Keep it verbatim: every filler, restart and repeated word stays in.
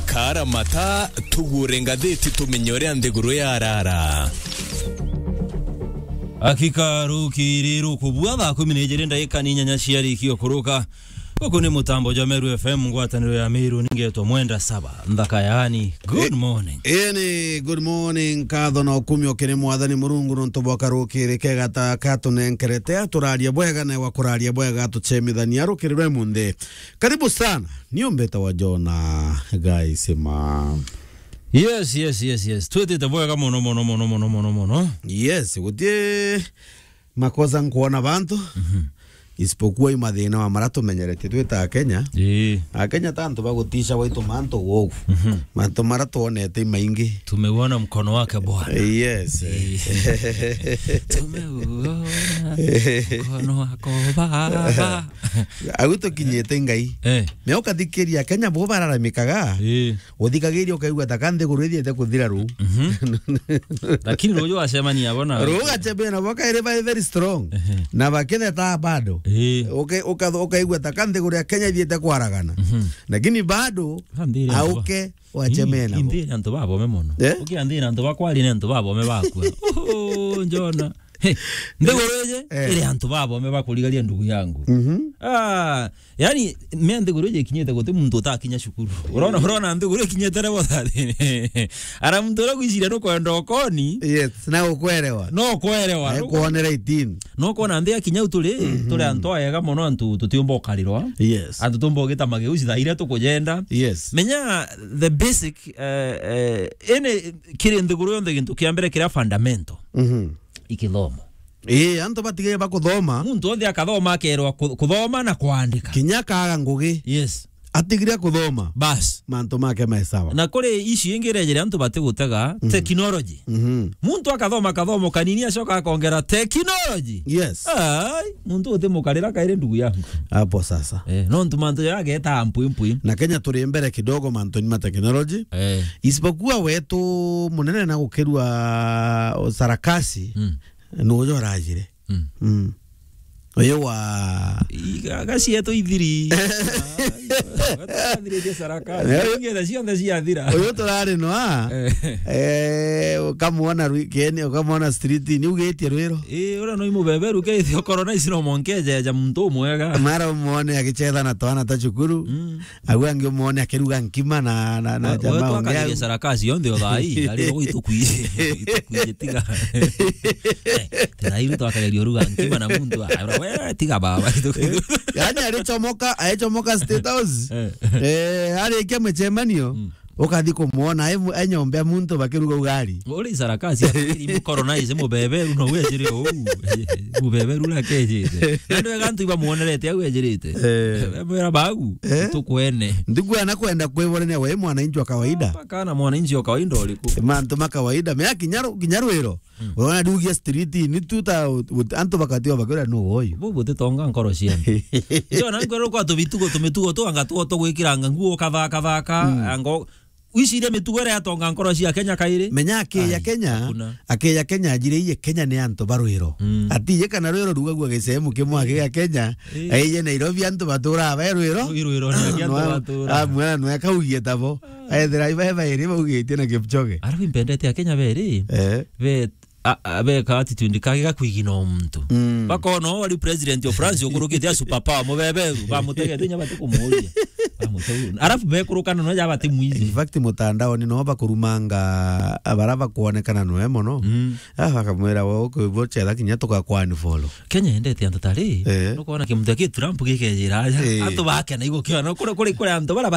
Kara mata, tugure ngathiti tumenye uria nthiguru yarara. Akika rukiri rukubua thaa kumi na ijiri ndagika ni inyanya ciarikio kuruka. Guku ni mutambo jwa Meru F M, ngwataniro ya Meru, ningetwa Mwenda Saba, nthaka yaani. Good morning. Ii ni good morning, nkatho na ukumio kiri Mwathani Murungu nontu bwa karukiri kega ta katunenkerete, aturarie bwega na wa kuraria bwega atuchemithania rukiri rwe munthi. Karibu sana. Ni umbeta wa Jona Gaisima. Yes, yes, yes, yes. Twitite bwega mono, mono, mono, mono, mono, mono. Yes, gutie makosa nkuona bantu. Mhm. Isipokuwa i mathina wa mara tumenyerete twita Akenya. Ii. Akenya ta antu bagutisha waitu mantu gugu. Mhm. Mantu mara tuonete i maingi. Tumeuona mkono wake Bwana. Yes. Ii. Tumeuona mkono wako Baba. Au tukinyite Ngai. Eh. Me ukathikiria Kenya bo bararamikaga. Ii. Uthikagiria ukaigua ta ka nthiguru ithiete kuthira ruu. Mhm. Lakini ruju wacemania bona. Ruu ugacemania nabo kairi bai very strong. Ehe. Na bakitheta bado. Ii. Uke-, uka-, ukaigua ta ka nthiguru ya Kenya ithiete kwaragana. Mhm. Lakini bado auke wacemania nabo. Inthiri antu babome mono. Eh? Ukianthira antu bakwari ni antu babome bakua. Oh, Jona. He, nthiguru iji, eh, iri antu babome bakurigaria ndugu yangu. Mhm. Ah, yani, me nthiguru iji ikinyite guti muntu utakinya cukuru. Urona, urona nthiguru ikinyite level thirteen. Ara muntu uria gwiciria nukwenda ukoni. Yes, na ukwerewa. No kwerewa. Na kuonera eighteen. No kuona nthi akinya u turi, mhm, turi antu ega mono, antu tutiumba ukarirwa. Yes. Antu tumba ugita mageuci thaa iria tukujenda. Yes. Menya the basic, eh, eh, ene kiri nthiguru yonthe gintu kia mbere kiria fundamental. Mhm. Ikithomo. Ii, antu batigire bakuthoma. Muntu onthe akathoma, akerwa ku-, kuthoma na kwandika. Kinya akaga ngugi. Yes. Atigire kuthoma. Bas. Mantu make me sawa. Na kuri issue ingi irejere antu batigutega, mhm, technology. Mhm. Muntu akathoma kathomo kanini, acoka akongera technology. Yes. Ai, muntu utimukarira kairi ndugu yangu. Hapo sasa. Eh, nontu mantu jaya ageta mpwi mpwi. Na Kenya turi mbere kidogo mantuni ma technology. Eh. Isipokuwa wetu munene na gukirua sarakasi, mm, nujo urajire. Mm. Mm. Uyu wa i-, ga-, gacieto ithiri. Gathiritie sarakasi. Eh. Ngetha cionthe ciathira. Uyu turari nwa. Eh. Eh, ukamwona rwi-, kene, ukamwona street, ni ugitie rwiro. Eh, ura no imubeberu ke ithio korona ici no monke ejeja muntu umwega. Mara umwone agichetha na twana ta cukuru. Mm. Au angi umwone akiruga nkima na, na, na we, jamaa we ungi twakaririe au. Sarakasi yonthe o thaa ii, ari o gwitukwi-, gwitukwi tiga. Eh, thaa ii twakaririe uruga nkima na muntu, ah, we, tiga baba. Yani arichomoka, aichomoka State House. Eh. Eh, arikia michemanio. Mm. Ukathi kumwona, e mu-, e nyombe ya muntu bakiruga ugari. Uri sarakasi, iri mukoronize mubeberu no wejire uu. Mubeberu uria akejite. Na ndio wega antu ibamuonerete au ejirite. Eh. Bamwira bagu, eh? Tukwene. Ndugu anakwenda kwiborania we mwananchi wa kawaida. Mpaka na mwananchi wa kawaida uriku? Mantu ma kawaida. Mea kinya ru-, kinya rwiro. Mm. Urona ndugu ya street, ni tu ta ut-, ut-, antu bakatiwa bakira no woyo. Bubu titonga nkoro cia. Ndio na nkoro kwa tubitugo, tumitugo tu anga tu tugwikiranga nguo kathaka thaka, mm, ango wiciria mitugo iria yatonga nkoro cia Kenya kairi? Menya aki ya ai, Kenya, hakuna. Aki ya Kenya ajire iye Kenya ni antu ba rwiro. Mm. Ati iye kana rwiro rugagua gisehemu kimwe aki ya Kenya, eh, aiye Nairobi antu batura ba rwiro. Rwiro ni aki antu batura. Ah, mwana nwe kaugie tabo. Ah. Ethira iba bairi baugitie na Kipchoge. Arafu impendete a Kenya beri. Eh. Be a, a, beka attitude kage gakwigina o muntu. Mm. Bakona o ari president of France ukurukite a superpower mubeberu, bamutegete inya batikumuria. Bamutegete. Arafu bekurukana no ja batimwizi. In fact, mutandaoni no bakurumanga abara bakuonekana noe mono. Mm. Ah, bakamwira we ukwibwo chetha kinya tukakwa unfollow. Kenya endete antu tari. Eh. Nukona kimuntu ki Trump gikejira aja. Eh. Antu bakena igukiona kuri, kuri, kuri antu bara